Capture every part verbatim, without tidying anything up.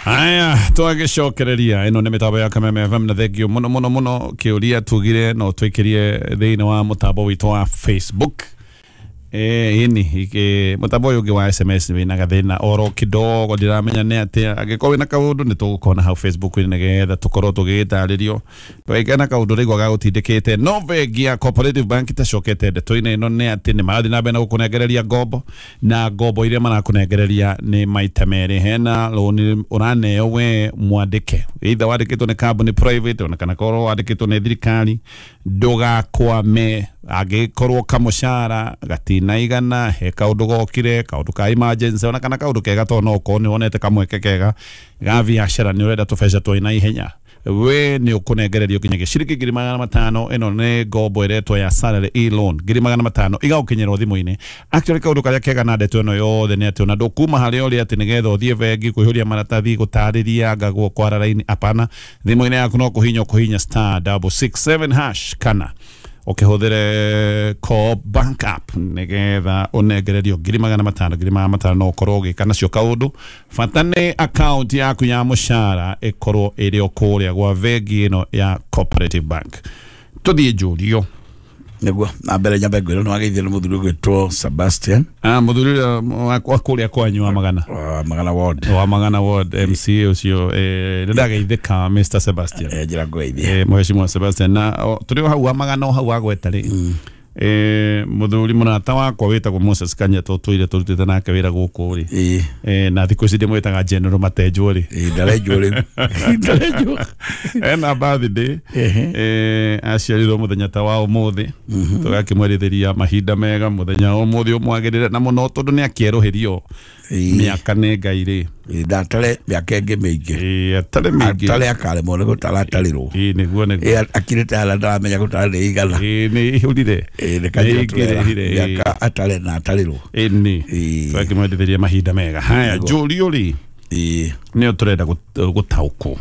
Aya twagicokereria ino ni mitambo ya Kameme F M na thengio muno muno muno kiuria tugire no twikirie thiini wa mutambo witu wa Facebook. Eh ini ike mutambo uyu wa S M S wina gathina oro kidogo ndiramenya ni atia angikorwo wina kaundu ni tugukona hau Facebook ni nigetha tukorwo tugitaririo twekena kaundu rigwa gagutindikite no bengi ya Cooperative Bank itacokete ndeto-ini ino ni ati ni marathi na mbere na gukunengereria ngombo na ngombo iria marakunengereria ni maita meri hena loan uraneo we mwandike either wandikitwo ni kambuni private ona kana korwo wandikitwo ni thirikari ndugakwame angikorwo kamucara gatina igana he kaundu gokire kaundu ka emergency ona kana kaundu kega to no ko ni wonete kamweke kega ga biacara ni urenda tubeca twina ihenya we ni ukunengererio kinya giciriki ngiri magana matano ino ni ngombo iretwo ya salary e loan ngiri magana matano igagukinyirwo thimu-ini. Actually kaundu karia kega na ndeto ino yothe ni ati ona ndukuma haria uri ati nigetha uthie bengi kuihuria maratathi gutariria ngagwo kwara raini apana thimu-ini yaku no kuhinya kuhinya star double six seven hash kana ukihũthĩre Co-op Bank app nigetha ũnengererio ngiri magana matano ngiri magana matano no ũkorwo ũgĩka nacio kaũndũ bata nĩ account yaku ya mũcara ĩkorwo ĩrĩ o kũrĩa gwa bengi ĩno ya Cooperative Bank. Tũthiĩ njũrio nĩguo na mbere nyambe ngwĩrwo nĩ wageithio nĩ mũthuri ũgwĩtwo Sebastian. Ah mũthuri wa kũrĩa kwanyu wa magana wa magana ward wa magana ward M C A ũcio eh nĩ ndageithĩka Mister Sebastian eh njĩra ngũgeithie eh mheshimiwa Sebastian na tũrĩ o hau wa magana o hau agweta rĩ eh mũthuri mũrata wakwa wĩtagwo Moses Kanyata tũtũire tũrutĩte nake wĩra gũkũ rĩ eh na thikũ ici ndĩmwĩtaga General Matenjwo rĩ eh ndarenjwo rĩu ndarenjwo ena birthday eh aciarirwo mũthenya ta wa ũmũthĩ tũgakĩmwerithĩria mahinda mega mũthenya wa ũmũthĩ ũmwagĩrĩre na mũno tondũ nĩ akĩerũhĩrio mĩaka nĩ Ngai rĩ ndatare mĩaka ĩngĩ mĩingĩ ĩĩ atare mĩingĩ atare akaremwo nĩ gũtaratarĩrwo ĩĩ nĩguo nĩguo akirĩte harĩa ndaramenya gũtara nĩ igana ĩĩ nĩ ihũrire ĩĩ nĩ kanjũra mĩaka atare na atarĩrwo ĩĩ nĩ tũgakĩmwendithĩria mahinda mega. Haya njũrio rĩ ĩĩ nĩyo tũrenda gũtaũkwo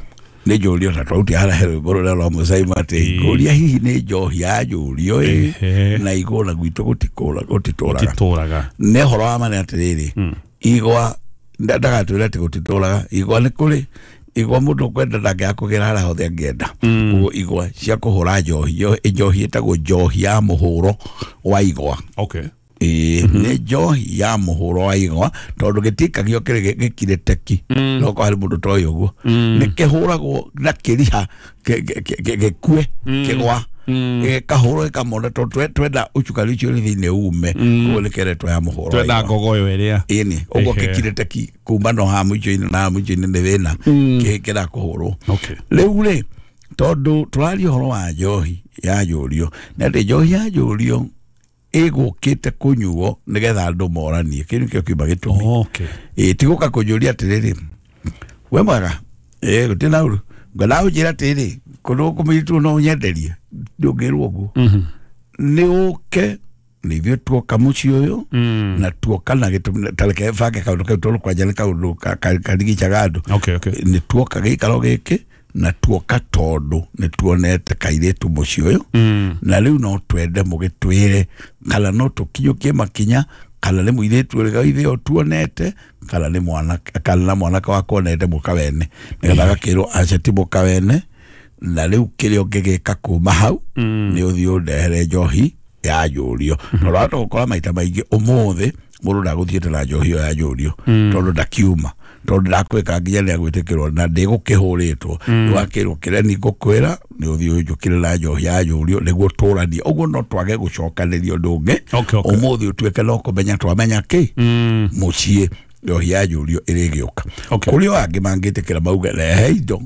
nĩ njũrio ta twautia harĩa he rwĩmbo rũrĩa rwa Mũcaima atĩ ngũria hihi nĩ njohi ya njũrio ĩ na igũra gwitũ gũtitũraga nĩ ũhoro wa ma nĩ atĩrĩrĩ igwa ndagatwĩra atĩ gũtitũraga igwa nĩ kũrĩ igwa mũndũ ũkwenda ndangĩaga kũgĩra harĩa hothe angĩenda ũguo igwa cia kũhũra njohi njohi ĩtagwo njohi ya mũhũro wa igwa. Okay. Ĩĩ nĩ njohi ya mũhũro wa igwa tondũ gĩtikagio kĩrĩ gĩkire teki no kwa harĩ mũndũ toĩ ũguo nĩ kĩhũragwo na kĩriha gĩkue kĩgwa gĩkahũrwo gĩkamona tondũ twenda ũcukari ũcio ũrĩ thĩinĩ ume ũguo nĩ keretwo ya mũhũro twenda ngogoyo ĩrĩa ĩni ũguo gĩkire teki kuma no haha mũico-inĩ na haha mũico-inĩ nĩ thĩna kĩra kũhũrwo. Rĩu rĩ tondũ tũraria ũhoro wa njohi ya njũrio nĩ atĩ njohi ya njũrio ĩgũkĩte kũnyuo nĩgetha andũ moranie kĩu nĩkĩo kiuma gĩtũmi. Ĩĩ ti gũka kũnjũria atĩrĩrĩ we mwega ĩĩ gũtirĩ na ũru ngwendaga ũnjĩre atĩrĩrĩ kũndũ gũkũ mũirĩtu no ũnyenderie ndũngĩrwo ũguo nĩ ũke nĩ ithuĩ tuoka mũciĩ ũyũ na tuoka na gĩtũmi ta reke bange kaũndũ kau tondũ kwanja nĩ kaũndũ karigicaga andũ nĩ tuoka gĩikaro gĩkĩ na tuoka tondũ nĩ tuonete kairĩtu mũciĩ ũyũ na rĩu no twende mũgĩtwĩre kana no tũkinyũkie makinya kana nĩ mũirĩtu ũrĩa ithuĩ o tuonete kana nĩ mwanake kana na mwanake wakwa onete mũkawene nĩgetha agakĩrwo aca ti mũkawene na rĩu kĩrĩa ũngĩgĩka kuma hau nĩ ũthiĩ ũndehere njohi ya njũrio tondũ wahota gũkora maita maingĩ ũmũthĩ mũndũ ndagũthiĩte na njohi ĩyo ya njũrio tondũ ndakiuma tondũ ndakwĩka nginya nĩ agwĩtĩkĩrwo na ndĩgũkĩhũrĩtwo nĩwakĩrwo kĩrĩa nĩ ngũkwĩra nĩ ũthiĩ ũnjũkĩre na njohi ya njũrio nĩguo tũranie ũguo no twage gũcokanĩria ũndũ ũngĩ ũmũthĩ ũtuĩke no kũmenya twamenya kĩ mũciĩ njohi ya njũrio ĩrĩgĩũka kũrĩ o angĩ mangĩtĩkĩra mauge rehe indo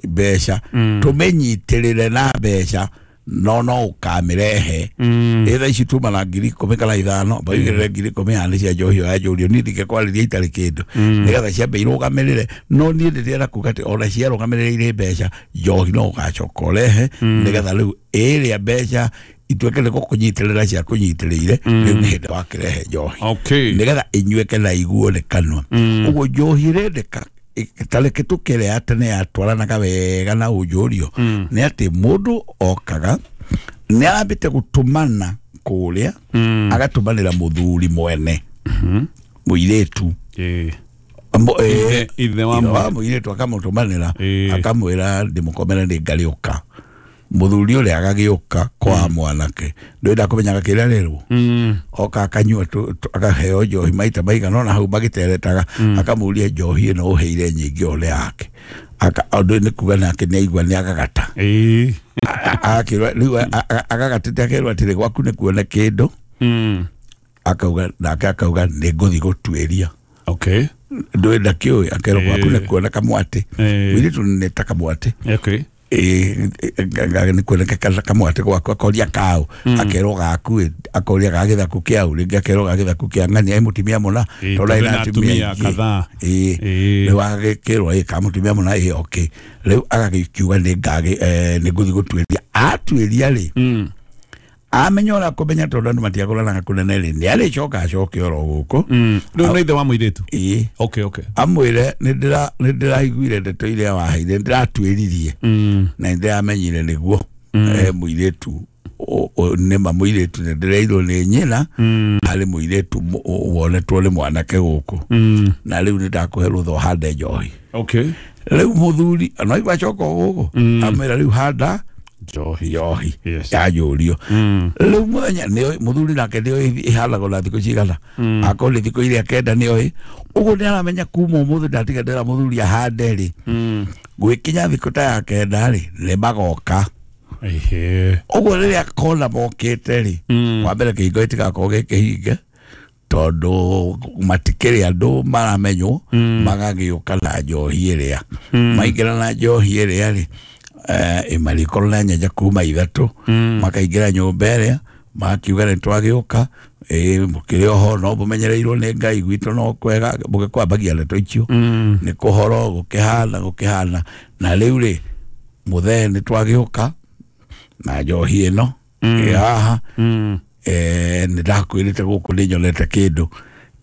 mbeca tũmĩnyitĩrĩre na mbeca no no ũkamĩrehe ĩ thaa ici tuma na ngiri ikũmi kana ithano baigĩrĩre ngiri ikũmi haha nĩ cia njohi ya njũrio niĩ ndingĩkwarĩria itarĩ kĩndũ nĩgetha ciambe irũgamĩrĩre no niĩ ndĩrenda kuga atĩ ona ciarũgamĩrĩire mbeca njohi no ũgacoka ũrehe nĩgetha rĩu ĩrĩa mbeca ituĩke nĩ gũkũnyitĩrĩra cia kũnyitĩrĩire rĩu nĩ hĩndĩ wakĩrehe njohi nĩgetha ĩnyuĩke na iguo nĩ kanua ũguo njohi ĩrendeka tareke tukere ya tene yatwaranaga wega na ũnjũrio nĩ atĩ mũndũ okaga nĩ arambĩte gũtũmana kũrĩa agatũmanĩra mũthuri mwene mũirĩtu Ithe wa mũirĩtu akamũtũmanĩra akamwĩra ndĩmũkomere nĩ ngarĩũka. Mũthuri ũrĩa agagĩũka kwa mwanake ndwenda kũmenyaga kĩrĩa rĩrwo oka akanyua akaheo njohi maita maigana ona hau magĩteretaga akamũria njohi ĩno ũheire nyingĩ ũrĩa yake ũndũ nĩ kuga nake nĩ aigua nĩ agagata akĩrwo rĩu agagatĩte akerwo atĩrĩ gwaku nĩ kuona kĩndũ akauga nake akauga nĩ ngũthiĩ gũtuĩria. Okay. Ndwenda kĩũĩ akerwo gwaku nĩ kuona kamwatĩ mũirĩtu nĩ ta kamwatĩ. Okay. Nĩ kuoneka kamwatĩ gwaku akoria kaũ akerwo gaku akoria ga gĩthaku kĩau rĩngĩ akerwo ga gĩthaku kĩa ng'ania ĩ mũtumia mũna tondũ arĩ na atumia kadhaa rĩu agagĩkĩrwo ĩ ka mũtumia mũna ĩ okay rĩu agagĩkiuga nĩ ngagĩ nĩ ngũthiĩ gũtuĩria atuĩria rĩ amenya ũrĩa kũmenya tondũ andũ matiagũranaga kũnene rĩ nĩ arĩcoka acoke oro gũkũ rĩu nĩ ithe wa mũirĩtu. Ĩĩ. Okay, okay. Amwĩre nĩ ndĩraiguire ndeto iria waheire nĩ ndĩratuĩririe na nĩ ndĩramenyire nĩguo mũirĩtu nĩma mũirĩtu nĩ ndĩreirwo nĩ nyina harĩ mũirĩtu wonetwo nĩ mwanake gũkũ na rĩu nĩ ndakũhe rũtha ũhande njohi. Okay. Rĩu mũthuri no aigua acoka gũkũ amwĩra rĩu handa njohi njohi yanjũrio rĩu mũthenya nĩoĩ mũthuri nake nĩoĩ ĩhandagwo na thikũ cigana akorwo nĩ thikũ iria kenda nĩoĩ ũguo nĩ aramenya kuma ũmũthĩ ndatiga ndĩra mũthuri ahande rĩ gwĩkinya thikũ ta ya kenda rĩ nĩ magoka. Ũguo rĩrĩa kona mokĩte rĩ wa mbere kĩhingo gĩtigakorwo gĩ kĩhinge tondũ matikĩrĩ andũ maramenywo magagĩũka na njohi ĩrĩa maingĩra na njohi ĩrĩa rĩ ĩmarĩkorwo na nyanja kuma ithatũ makaingĩra nyũmba ĩrĩa makiuga nĩ twagĩũka mũkĩrĩ oho no mũmenyereirwo nĩ Ngai gwitũ no kwega mũgĩkwambagia ndeto icio nĩ kũhoro gũkĩhana gũkĩhana na rĩu rĩ mũthee nĩ twagĩũka na njohi ĩno ĩ haha nĩ ndakwĩrĩte gũkũ nĩ nyonete kĩndũ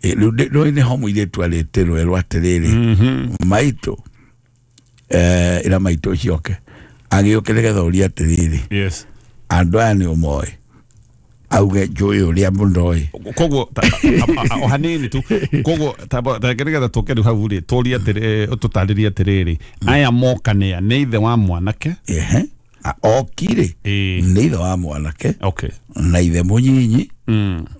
rĩu nĩho mũirĩtu arĩtĩrwo erwo atĩrĩrĩ maitũ ĩra maitũ ũcio oke agĩũke nĩgetha ũrie atĩrĩrĩ yes andũ aya nĩ ũmoĩ auge njũĩ ũrĩa mũndoĩ koguo o hanini tu koguo nĩgetha tũke rĩu hau rĩ tũrie atĩrĩ tũtarĩrie atĩrĩrĩ aya moka nĩa nĩ ithe wa mwanake ehe okire nĩ ithe wa mwanake okay na ithe mũnyinyi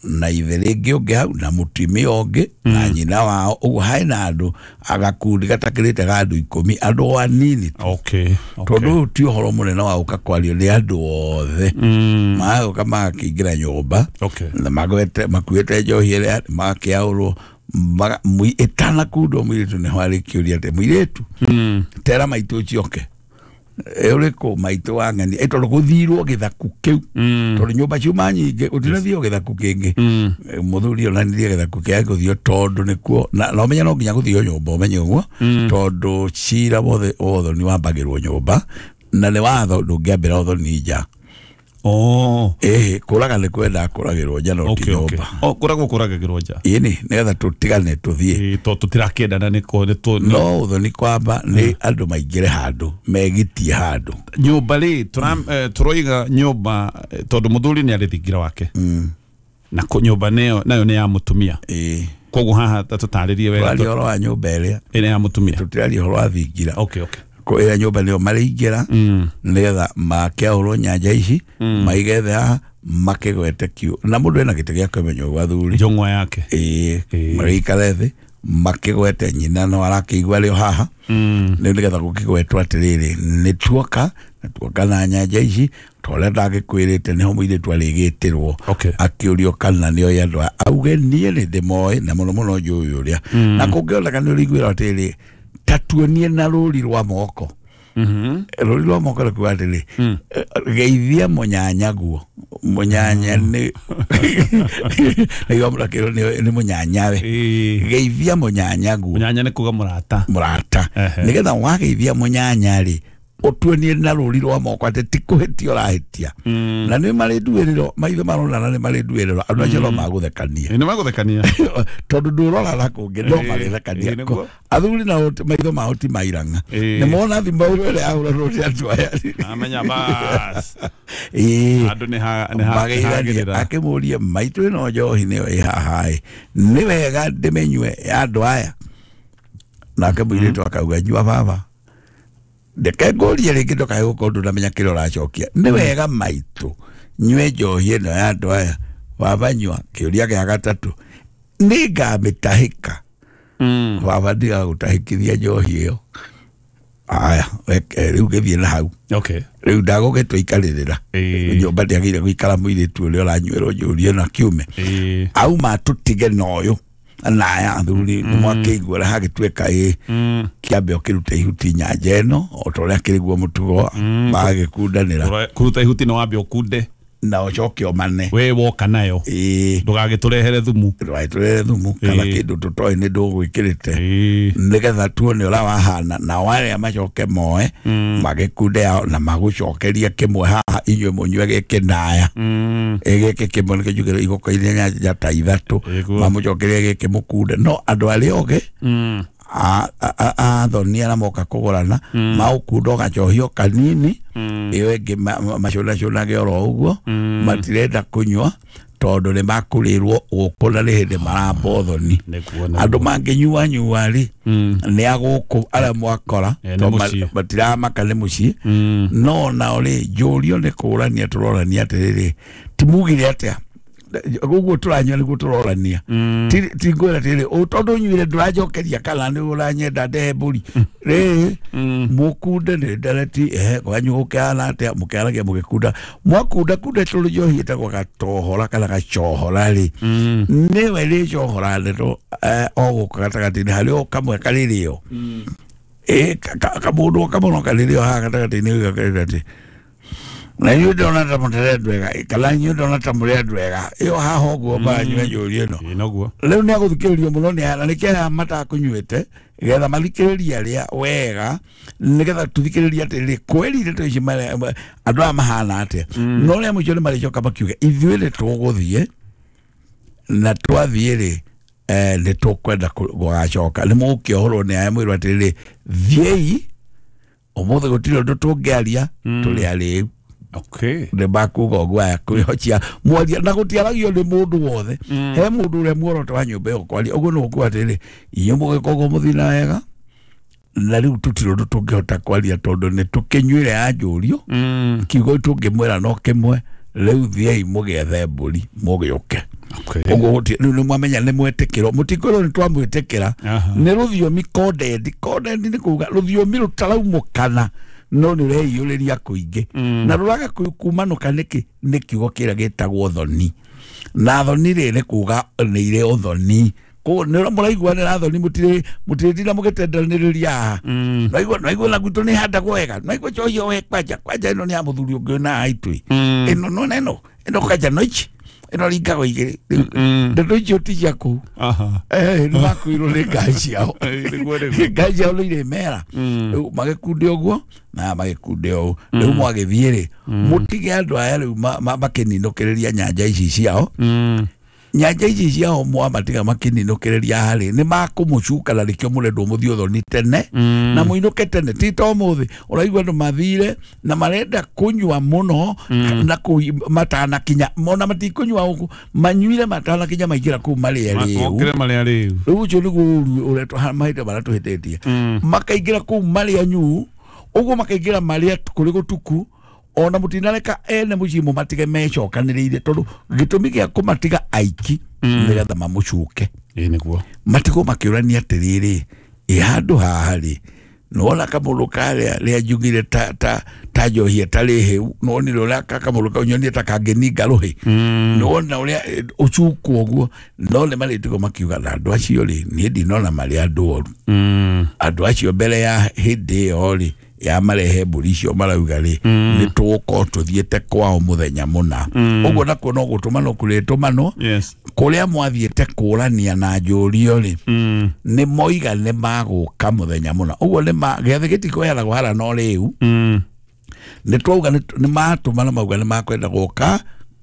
na ithe rĩngĩ ũngĩ hau na mũtumia ũngĩ na nyina wao ũguo harĩ na andũ agakundi gatakĩrĩte ga andũ ikũmi andũ anini okay tondũ ũyũ ti ũhoro mũnene wa gũka kwario nĩ andũ othe magũka magakĩingĩra nyũmba na magwete makuĩte njohi ĩrĩa magakĩaũrwo ĩtanakundwo mũirĩtu nĩho arĩkĩũria atĩ mũirĩtu tera maitũ ũcio oke ũrĩkũ maitũ wa ng'ania tondũ gũthirwo gĩthaku kĩu tondũ nyũmba ciuma nyingĩ gũtinathio gĩthaku kĩngĩ mũthuri onanirie gĩthaku kĩa gũthio tondũ nĩkuo na ũmenye no nginya gũthio nyũmba ũmenye ũguo tondũ cira wothe ũthoni wambagĩrwo nyũmba na nĩ watho ndũngĩambĩra ũthoni nja. Oh eh kũraga nĩ kwenda kũragĩrwo nja no ti nyũmba. Oh kũragwo kũragagĩrwo nja ĩni nĩgetha tũtigane tũthiĩ to tũtirakĩendana nĩ kũ no ũthoni kwamba nĩ andũ maingĩre handũ megitie handũ nyũmba rĩ tũroiga nyũmba tondũ mũthuri nĩ arĩ thingira wake na nyũmba nayo nayo nĩ ya mũtumia koguo haha tũtarĩrie wega tũraria ũhoro wa nyũmba ĩrĩa ĩrĩa ya mũtumia tũtiraria ũhoro wa thingira. Okay, okay. Ĩrĩa nyũmba nĩyo marĩingĩra nĩgetha makĩaũrwo nyanja ici maige thĩ haha makĩgwete kiu na mũndũ ena gĩtĩ gĩa kwĩmenya ũguo athuri njũng'wa yake ĩĩ marĩikare thĩ makĩgwete nyina no arakĩigua rĩo haha rĩu nĩgetha gũkĩgwetwo atĩrĩrĩ nĩ tuoka na tuoka na nyanja ici torĩa ndagĩkwĩrĩte nĩho mũirĩtu arĩgĩtĩrwo akĩũrio kana nĩoĩ andũ aya auge niĩ nĩ ndĩmoĩ na mũno mũno njũĩ ũrĩa na kũngĩoneka nĩ ũrĩiguĩra atĩrĩrĩ tatuonie na rũri rwa moko rũri rwa moko rũkiuga atĩrĩ geithia mũnyanyaguo mũnyanya nĩ nĩguo mũrakĩrwo nĩ mũnyanyawe geithia mũnyanyaguo mũnyanya nĩ kuga mũrata mũrata nĩgetha wageithia mũnyanya rĩ ũtuonie na rũri rwa moko atĩ ti kũhĩtia ũrahĩtia na nĩ marĩ nduĩrĩro maitho maronana nĩ marĩ nduĩrĩro andũ acio no magũthekania nĩ magũthekania tondũ ndũrora na kũngĩ no magĩthekania athuri nao maitho mao ti mairang'a nĩ mona thimũ ĩrĩa yahũranwo nĩ andũ aya amenya bas andũ nĩ mageithania akĩmũria maitũ ĩno njohi nĩyo ĩ haha ĩ nĩ wega ndĩmĩnyue ya andũ aya Nake mũirĩtu akauga nyua baba. Ndeke ngũrie rĩngĩ ndũkae gũkorwo ndũnamenya kĩrĩa ũracokia. Nĩ wega maitũ nyue njohi ĩno ya andũ aya. Baba nyua. Kĩũria gĩa gatatũ, nĩ ngamĩtahĩka. Baba ndigagũtahĩkithia njohi ĩyo. Aya, rĩu gĩthiĩ na hau. Okay. Rĩu ndagũgĩtua ikarĩrĩra. Nyũmba ndĩagĩrĩire gũikara mũirĩtu ũrĩa ũranyuĩrwo njũrie na kiume. Auma tũtige na ũyũ na aya athuri nĩ mwakĩigua ũrĩa hagĩtuĩka ĩ kĩambe ũkĩrute ihuti nyanja ĩno o ta ũrĩa kĩrĩ guo mũtugo magĩkundanĩra. Kũruta ihuti nĩ wambe ũkunde na ũcoke ũmane we woka nayo ndũgagĩtũrehere thumu ndũgagĩtũrehere thumu kana kĩndũ tũtoĩ nĩ ndũgwĩkĩrĩte nĩgetha tuone ũrĩa wahana nao arĩa macoke moe magĩkunde yao na magũcokerie kĩmwe haha inyuĩ mũnyue gĩkĩ naya gĩkĩ kĩmwe nĩkĩo njugire igũkoirie nyanja ta ithatũ mamũcokerie gĩkĩ mũkunde no andũ arĩa ogĩ athoni arĩa moka kũgũrana maũkunda ũgacohio kanini ĩyo ĩngĩ macũnacũnage oro ũguo matirenda kũnyua tondũ nĩ makũrĩrwo gũkũ na nĩ hĩndĩ maramba ũthoni. Andũ mangĩnyua nyua rĩ nĩ a gũkũ arĩa mwakora tondũ matiramaka nĩ mũciĩ no nao rĩ njũrio nĩ kũrania tũrorania atĩrĩrĩ ti mugire atĩa ũguo tũranyua nĩguo tũrorania ti ngwĩra atĩrĩrĩ tondũ nyuire ndũranjokeria kana nĩ ũranyenda ndehe mbũri rĩ mũkunde nĩ ndereti ehe kwanyu gũkĩhana atĩa mũkĩaragia mũgĩkunda mwakunda kunda tũrĩ njohi ĩtagwo gatohora kana gacohora rĩ nĩwe rĩcohora ndeto o gũkũ gatagatĩ-inĩ harĩ o kamwe karĩrĩo ĩ kamũndũ kamwe no karĩrĩo haha gatagatĩ-inĩ gakerwo atĩ na inyuĩ ndĩrona ta mũtarĩ andũ ega kana inyuĩ ndĩrona ta mũrĩ andũ ega ĩyo haha ũguo maranyua njũri ĩno rĩu nĩ agũthikĩrĩrio mũno nĩ aya na nĩkĩo aya matakũnyuĩte getha mathikĩrĩrie arĩa wega nĩgetha tũthikĩrĩrie atĩrĩrĩ kweri ndeto ici andũ aya mahana atĩa no rĩa mũico nĩ marĩcoka makiuge ithuĩ nĩ tũgũthiĩ na twathiĩ rĩ nĩ tũkwenda gũgacoka nĩ mũgũkĩohorwo nĩ aya mwĩrwo atĩrĩrĩ thiĩi ũmũthĩ gũtirĩ ũndũ tũngĩaria tũrĩ arĩu. Okay. Nĩ makuga ũguo aya kwĩhocia mwaria na gũtiaragio nĩ mũndũ wothe he mũndũ ũrĩa muoroto wa nyũmba ĩyo kwaria ũguo nĩ gũkuga atĩrĩrĩ inyuĩ mũgĩka ũguo mũthiĩ na wega na rĩu tũtirĩ ũndũ tũngĩhota kwaria tondũ nĩ tũkĩnyuire ya njũrio kiugo tũngĩmwĩra no kĩmwe rĩu thiĩi mũgĩethe mbũri mũgĩũke. Ũguo rĩu nĩ mwamenya nĩ mwetĩkĩrwo mũtikwĩrwo nĩ twamwĩtĩkĩra nĩ rũthiomi coded coded nĩ kuga rũthiomi rũtaraumũkana no nĩ ũreiyũrĩria kũingĩ na rũraga kumanũka nĩkĩ nĩ kiugo kĩrĩa gĩtagwo thoni na thoni rĩ nĩ kuga nĩ irĩ ũthoni koguo nĩ mũraiguanĩra thoni mũtirĩ mũtirĩtinda mũgĩtendanĩrĩria haha naigua naigua na gwitũ nĩ handagwo wega naigua njohi we kwanja kwanja ĩno nĩ ya mũthuri ũngĩ na aitũ ĩno nona ĩno ĩno kwanja no ici ĩno ringagwo igĩrĩ ndeto icio ti cia kũu nĩ makuirwo nĩ ngai ciao ngai ciao nĩ irĩmera rĩu magĩkunde ũguo na magĩkunde ũũ rĩu mwagĩthiĩ rĩ mũtige andũ aya rĩu makĩninũkĩrĩria nyanja ici ciao nyanja ici ciao mwamatiga makĩninũkĩrĩria harĩ nĩ makũmũcuka na nĩkĩo mũrendwo mũthiĩ ũthoni tene na mũinũke tene ti ta ũmũthĩ ũraigua andũ mathire na marenda kũnyua mũno na matanakinya mona matikũnyua ũguo manyuire matanakinya maingĩra kũu marĩa rĩu rĩu ũcio nĩguo ũru ũrĩa mahinda marĩa tũhĩtĩtie makaingĩra kũu marĩa nyuu ũguo makaingĩra marĩa kũrĩ gũtuku ona mutinareka ene muciĩ mũmatige mecokanĩrĩire tondũ gĩtũmi gĩa kũmatiga aiki nĩgetha mamũcuke ĩĩ nĩguo matigwo makĩũrania atĩrĩrĩ ĩ handũ haha rĩ nĩwona kamũndũ karĩa rĩa njugire ta ta ta njohi ĩtarĩ hĩu nĩwonire ũrĩa kamũndũ kau nyonire ta kangĩninga rũhĩ nĩwona ũrĩa ũcukwo ũguo no nĩ marĩtigwo makiuga na andũ acio rĩ niĩ ndinona marĩ andũ oru andũ acio mbere ya hĩndĩ ĩyo rĩ ya marehe mbũri icio marauga rĩ nĩ tũgũkorwo tũthiĩte kwao mũthenya mũna ũguo nakuo no gũtũmanwo kũrĩtũmanwo kũrĩa mwathiĩte kũrania na njũrio rĩ nĩ moiga nĩ magũka mũthenya mũna ũguo nĩ gĩathĩ gĩtikũheanagwo hara no rĩu nĩ twauga nĩ matũmana mauga nĩ makwenda gũka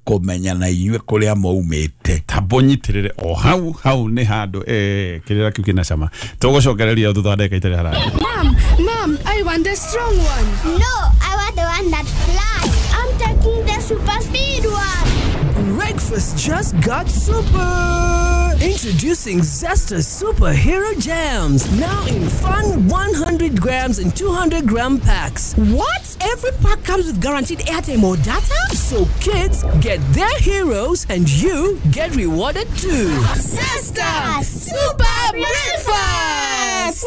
kũmenya na inyuĩ kũrĩa maumĩte tambo nyitirire o hau hau nĩ handũ eh kĩrĩra kĩu kĩna cama tũgũcokereria thutha wa ndagĩka itarĩ haraya. Mom, mom, I want the strong one. No, I want the one that flies. I'm taking the super speed one. Breakfast. Breakfast just got super! Introducing Zesta Superhero Jams, now in fun one hundred grams and two hundred gram packs. What? Every pack comes with guaranteed airtime or data? So kids get their heroes and you get rewarded too. Zesta Super Breakfast!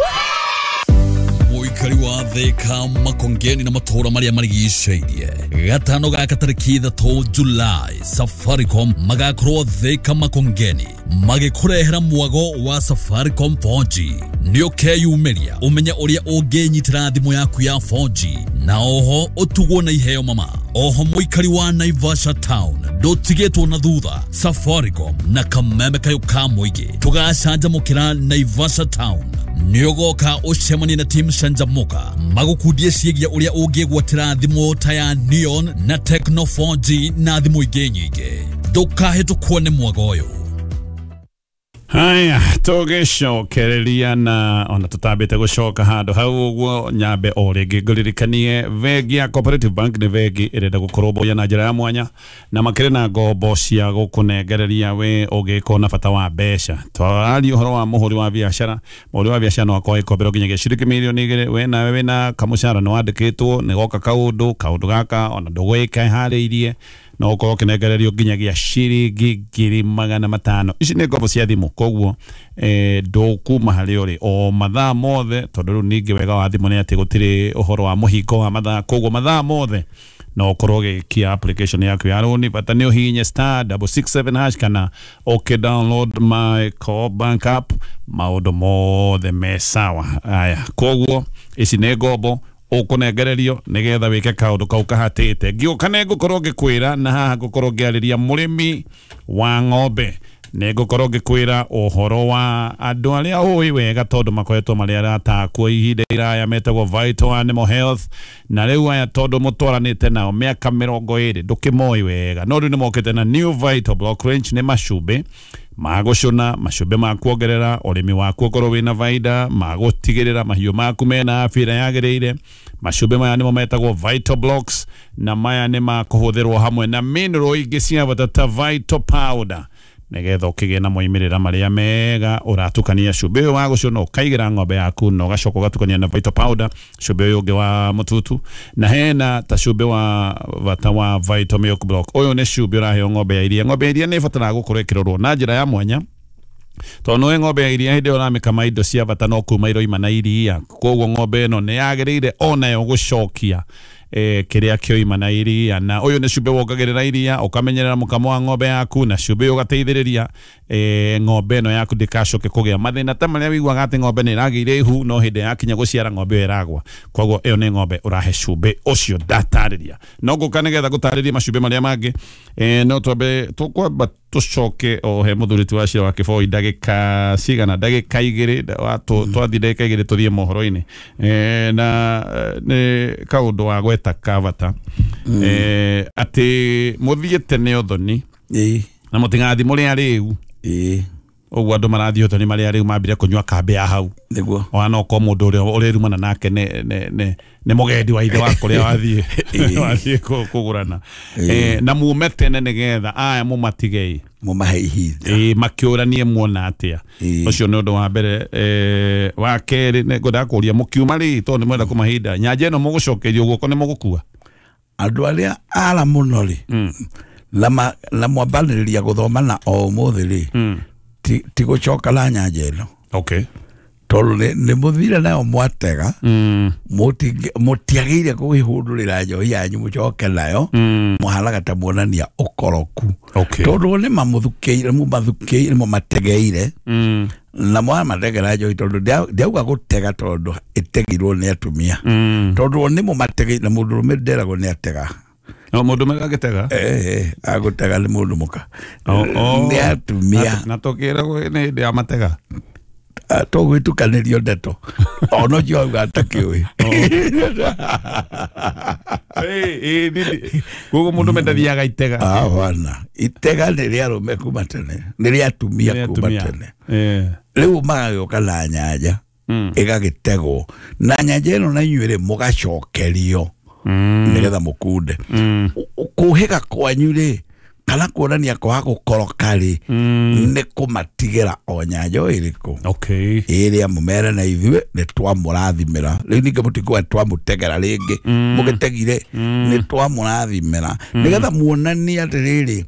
Mũikari wa Thika Makongeni na matũra marĩa marigicĩirie gatano gaka tarĩki ithatũ July Safaricom magakorwo Thika Makongeni magĩkũrehera mwago wa Safaricom four G. Nĩ ũkeyumĩria ũmenye ũrĩa ũngĩnyitĩra thimũ yaku ya four G na oho ũtugwo na iheo mama. Oho mũikari wa Naivasha Town ndũtigĩtwo na thutha. Safaricom na kameme kayũ ka mũingĩ tũgacanjamũkĩra Naivasha Town. Nĩũgoka ũcemanie na team Canjamuka magũkundie ciĩgiĩ ũrĩa ũngĩgwatĩra thimũ ta ya Neon na Tecno four G na thimũ ingĩ nyingĩ. Ndũkahĩtũkwo nĩ mwago ũyũ. Haya, tũgĩcokereria na ona tũtambĩte gũcoka handũ hau ũguo nyambe o rĩngĩ ngũririkanie bengi ya Cooperative Bank nĩ bengi ĩrenda gũkũrũmbũiya na njĩra ya mwanya na makĩrĩ na ngombo cia gũkũnengereria we ũngĩkorwo na bata wa mbeca. Twararia ũhoro wa mũhũri wa biacara, mũhũri wa biacara no akorwo agĩkomberwo nginyagia ciringi mirioni igĩrĩ. We nawe wĩna kamũcara nĩ wandĩkĩtwo nĩ goka kaũndũ kaũndũ gaka ona ndũgwĩka harĩirie no ũkorwo ũkĩnengererio nginyagia ciringi ngiri magana matano. Ici nĩ ngombo cia thimũ, koguo eh, ndũkuma harĩa ũrĩ o mathaa mothe, tondũ rĩu ningĩ wega wa thimũ nĩ atĩ gũtirĩ ũhoro wa mũhingo wa mathaa, koguo mathaa mothe no ũkorwo ũgĩkia application yaku ya rũni. Bata nĩ ũhihinye star double six seven hash kana ũkĩ download my Co-op Bank app, maũndũ mothe me sawa. Aya, koguo ici nĩ ngombo ũkũnengererio nĩgetha wĩke kaũndũ kau kahatĩte. Ngĩũka nĩ ngũkorwo ngĩkwĩra na haha ngũkorwo ngĩarĩria mũrĩmi wa ng'ombe, nĩ ngũkorwo ngĩkwĩra ũhoro wa andũ arĩa ũĩ wega tondũ makoretwo marĩ arata akuo ihinda iraya metagwo Vital Animal Health, na rĩu aya tondũ mũtwaranĩte nao mĩaka mĩrongo ĩrĩ ndũkĩmoĩ wega, no rĩu nĩ mokĩte na New Vital Block Range. Nĩ macumbĩ ma gũcũna, macumbĩ ma kuongerera ũrĩmi waku ũkorwo wĩna baida, ma gũtigĩrĩra mahiũ maku mena afya ĩrĩa yagĩrĩire. Macumbĩ maya nĩmo metagwo Vital Blocks, na maya nĩ makũhũthĩrwo hamwe na mineral ingĩ cia bata ta Vital Powder nĩgetha ũkĩgĩe na moimĩrĩra marĩa mega. Ũratukania cumbĩ ũyũ wa gũcũna ũkaigĩra ng'ombe yaku na ũgacoka ũgatukania na Vital Powder, cumbĩ ũyũ ũngĩ wa mũtutu, na hena ta cumbĩ wa bata wa Vital Milk Block. Ũyũ nĩ cumbĩ ũraheo ng'ombe ya iria. Ng'ombe ya iria nĩ ĩbataraga gũkorwo ĩkĩrorwo na njĩra ya mwanya tondũ nĩũĩ ng'ombe ya iria hĩndĩ ĩyo ũramĩkama indo cia bata no kuma iroima na iria, koguo ng'ombe ĩno nĩ yagĩrĩire onayo gũcokia eh, kĩrĩa kĩoima na iria. Na ũyũ nĩ cumbĩ wongagĩrĩra iria, ũkamenyerera mũkamo wa ng'ombe yaku, na cumbĩ ũyũ ũgateithĩrĩria eh, ng'ombe ĩno yaku ndĩkacoke kũgĩa mathĩna ta marĩa wĩiguaga atĩ ng'ombe nĩ ĩragĩire ihu no hĩndĩ yakinya gũciara ng'ombe ĩyo ĩragwa. Koguo ĩyo nĩ ng'ombe ũrahe cumbĩ ũcio ndatarĩria. No ngũka nĩgetha gũtarĩria macumbĩ marĩa mangĩ eh, no twambe tũkwamba tũcoke o he mũthuri ti wa Cira wa Kĩboi ndagĩka cigana, ndagĩka igĩrĩ twathiĩ ndagĩka igĩrĩ tũthiĩ mohoro-inĩ eh, na nĩ kaũndũ wa gweta ka bata eh, atĩ mũthiĩ tene ũthoni na mũtigathiĩ mũrĩ arĩu. Ũguo andũ marathiĩ ũthoni marĩ arĩu mambire kũnyua kambĩ ya hau nĩguo ona no ko mũndũ ũrĩa ũrĩrumana nake nĩ nĩ nĩ nĩ mũgendi wa ithe wa kũrĩa wathiĩ wathiĩ kũgũrana eh, na mume tene nĩgetha aya mũmatigei mũmahe ihinda ĩĩ makĩũranie muona atĩa. Ũcio nĩ ũndũ wa mbere. Eh, wa kerĩ nĩ ngwendaga kũria mũkiuma rĩ, tondũ nĩ mwenda kũmahinda nyanja ĩno mũgũcokerio guoko nĩ mũgũkua andũ arĩa ara mũno rĩ na na mwambanĩrĩria gũthoma na o ũmũthĩ rĩ ti gũcoka na nyanja ĩno. Okay. Tondũ nĩ mũthire nayo mwatega, mũtiagĩire kũhĩhũndũrĩra njohi yanyu mũcoke nayo, mũhanaga ta muonania ũkoroku. Tondũ nĩ mamũthukĩire, mũmathukĩire, mũmategeire na mwamategera njohi, tondũ ndiauga gũtega tondũ ĩtegirwo nĩ atumia, tondũ nĩ mũmategeire na mũndũrũme nderagwo nĩ atega. No mũndũ ũmwe agĩtega? Eh, agũtega nĩ mũndũ mũka. Nĩ atumia. Na tũkĩragwo nĩ hĩndĩ ya matega? Tũgwĩtukanĩrio ndeto ona ũcio auga atakĩũĩ. Koguo mũndũ ũmwe ndathiaga itega? Hapana, itega nĩ rĩa arũme kuma tene, nĩ rĩa atumia kuma tene. Rĩu magagĩũka na nyanja ĩgagĩtegwo na nyanja ĩno na inyuĩ rĩ mũgacokerio nĩgetha mũkunde. Kũhĩga kwanyu rĩ Kana kuonania kwaga gũkoroka rĩ nĩ kũmatigĩra o nyanjo ĩrĩkũ. Okay. Ĩrĩa mũmere na ithuĩ nĩ twamũrathimĩra. Rĩu ningĩ mũtikuga twamũtegera rĩngĩ. Mũgĩtegire nĩ twamũrathimĩra. Nĩgetha muonanie atĩrĩrĩ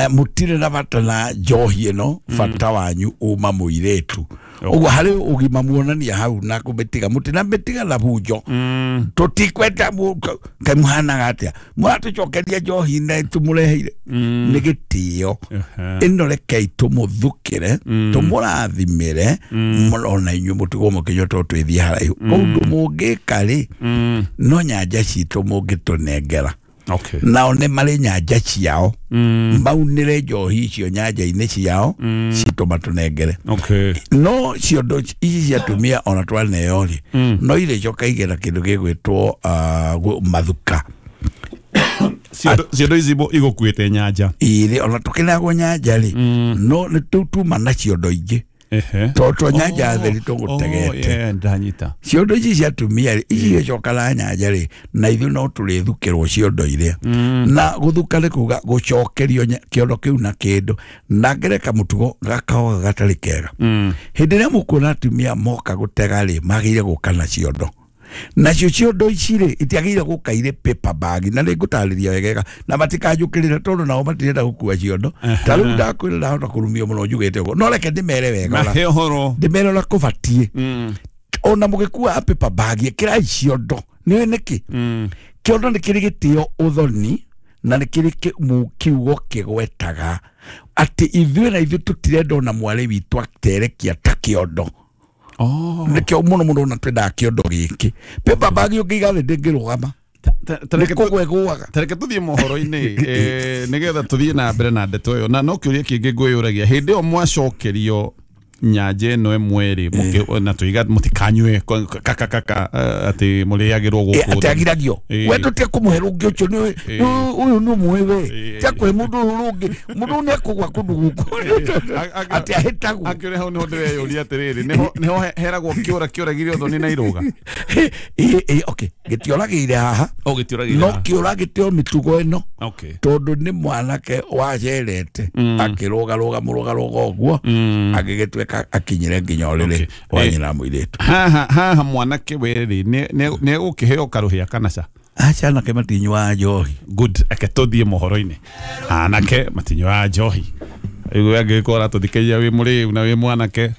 mũtirĩ na bata na njohi ĩno, bata wanyu uma mũirĩtu. Ũguo harĩ ũgima muonania hau na kũmĩtiga mũtinamĩtiga na bunjo. Tũtikwenda kaĩ mũhanaga atĩa mũratũcokeria njohi na tũmũreheire nĩ gĩtĩo. Ĩno rekei tũmũthukĩre tũmũrathimĩre ona inyuĩ mũtigwo mũkĩnyua tondũ twĩthiĩ haraihu. Ũndũ mũngĩka rĩ no nyanja citũ mũngĩtũnengera. Okay. Nao nĩ marĩ nyanja ciao maunĩre njohi icio nyanja-inĩ ciao citũ matũnengere. Okay. No ciondo ici cia atumia ona twaneo rĩ no irĩcoka igera kĩndũ gĩgwĩtwo mathuka. Ciondo ici igũkuĩte nyanja irĩ ona tũkĩneagwo nyanja rĩ no nĩ tuma na ciondo ingĩ tondũ nyanja theri tũgũtegete. Ndanyita. Ciondo ici cia atumia rĩ ici igĩcoka na nyanja rĩ na ithuĩ no tũrĩthukĩrwo ciondo iria. Na gũthuka nĩ kuga gũcokerio kĩondo kĩu na kĩndũ na ngereka mũtugo gakaoga gatarĩ kega. Hĩndĩ ĩrĩa mũkuona atumia moka gũtega rĩ magĩrĩire gũka na ciondo. Nacio ciondo ici rĩ itiagĩrĩire gũka irĩ paper bag na nĩ ngũtarĩria wegega na matikanjũkĩrĩre tondũ nao matirenda gũkua ciondo. Ta rĩu ndakwĩra ndahota kũrumio mũno njugĩte ũguo no reke ndĩmere wega ndĩmere ũrĩa kũbatiĩ. Ona mũgĩkua paper bag ĩkĩrai ciondo. Nĩũĩ nĩkĩ? Kĩondo nĩ kĩrĩ gĩtĩo ũthoni na nĩ kĩrĩ kiugo kĩgwetaga atĩ ithuĩ na ithuĩ tũtirenda ona mwarĩ witũ aterekia ta kĩondo. Oh. Nĩkĩo mũno mũno ona twendaga kĩondo gĩkĩ. Paper bag ũngĩiga thĩ ndĩngĩrũgama. Nĩ kũgwa ĩgũaga. Tareke tũthiĩ mohoro-inĩ nĩgetha tũthiĩ na mbere na ndeto ĩyo. Na no kĩũria kĩngĩ ngwĩyũragia hĩndĩ ĩyo mwacokerio nyanja ĩno ĩmwe rĩ na tũiga mũtikanyue kaka kaka atĩ mũrĩagĩrwo gũkũ atĩ agiragio we tũtige kũmũhe rũngĩ ũcio nĩ ũyũ nĩ ũmũĩ we tiga kũhe mũndũ ũyũ rũngĩ mũndũ ũyũ nĩ ekũgwa kũndũ gũkũ atĩ ahĩtagwo. Akĩũria hau nĩho ndĩreyũria atĩrĩrĩ nĩho heragwo kĩũra kĩũragire ũthoni na irũga. Okay, gĩtioragĩire haha no kĩũra gĩtĩo mĩtugo ĩno tondũ nĩ mwanake wacerete akĩrũgarũga mũrũgarũga ũguo agĩgĩtuĩka akinyire nginya ũrĩrĩ wa nyina mũirĩtu. Haha haha mwanake we rĩ nĩ egũkĩheo karũhĩa kana ca? Aca anake matinyuaga njohi. Good, eke tũthiĩ mohoro-inĩ. Anake matinyuaga njohi. Rĩu angĩgĩkorwo aratũthikĩrĩria wĩ mũrĩu na wĩ mwanake